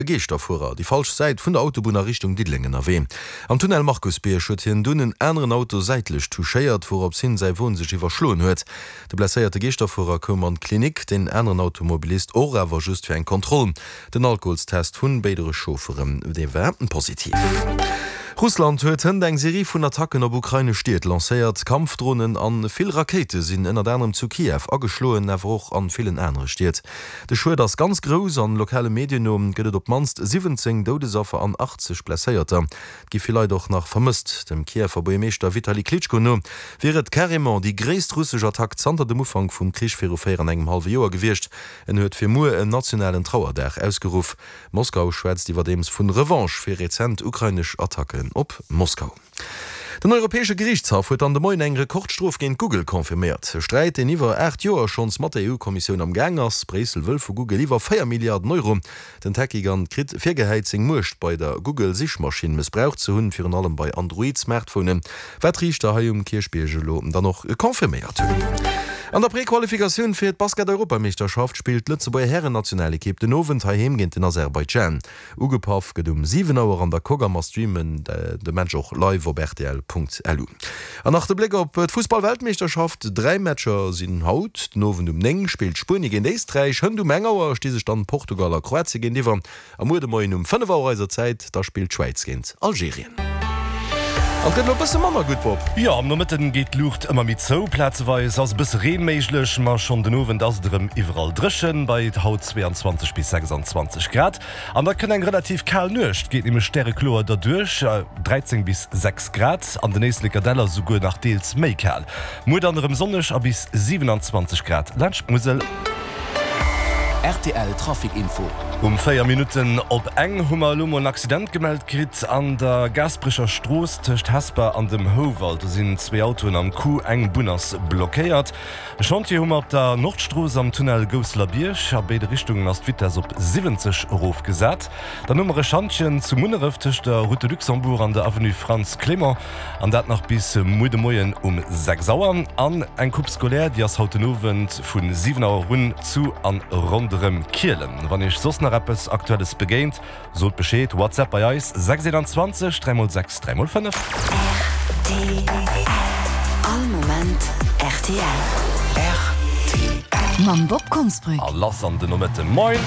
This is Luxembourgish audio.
E Geeschterfuerer déi falsch Säit vun der Autobunn a Richtung Diddeleng ënnerwee. Am Tunnel Markusbierg huet hien dunn en aneren Auto säitlech touchéiert, wourops hin säi Won sech iwwerschloen huet. De blesséierte Geeschterfuerer koum an d'Klinik, deen aneren Automobilist och, awer just fir eng Kontroll. Den Alkoholstest vun béidere Chaufferen, dee war positiv. Russland huet hënt eng Serie vun Attacken op ukrainesch Stied lancéiert. Kampfdronen an vill Rakéite sinn ënnert anerem zu Kiew ageschloen, awer och an villen anere Stied. De Schued ass ganz grouss an lokale Medien no gëtt et op d'mannst 17 Doudesaffer an 80 Blesséierter. Et gi vill Leit och nach vermësst. Dem Kiewer Buergermeeschter Vitali Klitschko no wier et carrément déi gréisst russesch Attack zanter dem Ufank vum Krich viru 4 an engem hallwe Joer gewiescht. En huet fir muer en nationalen Trauerdag ausgeruff. Moskau schwätzt iwwerdeems vun Revanche fir rezent ukrainesch Attacken op Moskau. Den Europäesche Geriichtshaff huet dann de Moien eng Rekordstrof géint Google confirméiert. E Sträit, deen iwwer 8 Joer schonns mat der EU-Kommissioun am Gaang ass. Bréissel wëll vu Google iwwer 4 Milliarden Euro. Den Tech-Gigant kritt virgehäit, seng Muecht bei der Google-Sichmaschinn mëssbraucht ze hunn, virun allem bei Android-Smartphonen, wat d'Riichter hei um Kierchbierg elo dann och confirméiert hunn. An der Prequalifikatioun fir d'Basket-Europameeschterschaft spillt d'Lëtzebuerger Hären-Nationalekipp den Owend heiheem géint den Aserbaidschan. Ugepaff gëtt um 7 Auer an der Coque a mer streamen de Match och live op rtl.lu. An nach de Bléck op d'Fussball-Weltmeeschterschaft, 3 Matcher sinn haut den Owend um 9 spillt Spuenie géint Éisträich, hënt um eng Auer sti sech dann Portugal a Kroatie géintiwwer a muer de Moien um 5 Auer eiser Zäit da spillt d'Schwäiz géint Algerien. An et gëtt elo e bësse manner gutt, Bob. Jo, am Nomëtten geet d'Luucht ëmmer méi zou, plazeweis ass e bësse Reen méiglech, ma schonn den Owend ass et erëm iwwerall dréchen, bei haut 22 bis 26 Grad. An da kënnt eng relativ kal Nuecht, geet nämlech stärekloer derduerch, 13 bis 6 Grad, an den Éisleker Däller souguer nach deels méi kal. Muer dann erëm sonneg a bis 27 Grad laanscht d'Musel. Rtl Trafic Info. Um 4 Minutten op eng hu mer elo mol en Accident gemellt kritt an der Gaasperecher Strooss tëscht Hesper an dem Houwald. Do sinn zwee Autoen am Coup, eng Bunn ass blockéiert. E Chantier hu mer op der Nordstrooss am Tunnel Gousselerbierg. A béide Richtungen ass d'Vitess op 70 erofgesat. Dann hu mer e Schantjen zu Munneref tëscht der Route de Luxembourg an der Avenue Frantz Clément. An dat nach bis muer de Moien um 6 Auer. An eng Coupe scolaire, déi ass haut den Owend vu 7 Auer un zu an ronderëm Kielen. Wann iech soss nach eppes Aktuelles begéint, sot Bescheed. WhatsApp bei eis 6 21 3 x 6 3 x 5. Rtl, All Moment rtl. Rtl. Mam Bob Konsbrück. A lass an den Nomëtten. Moin!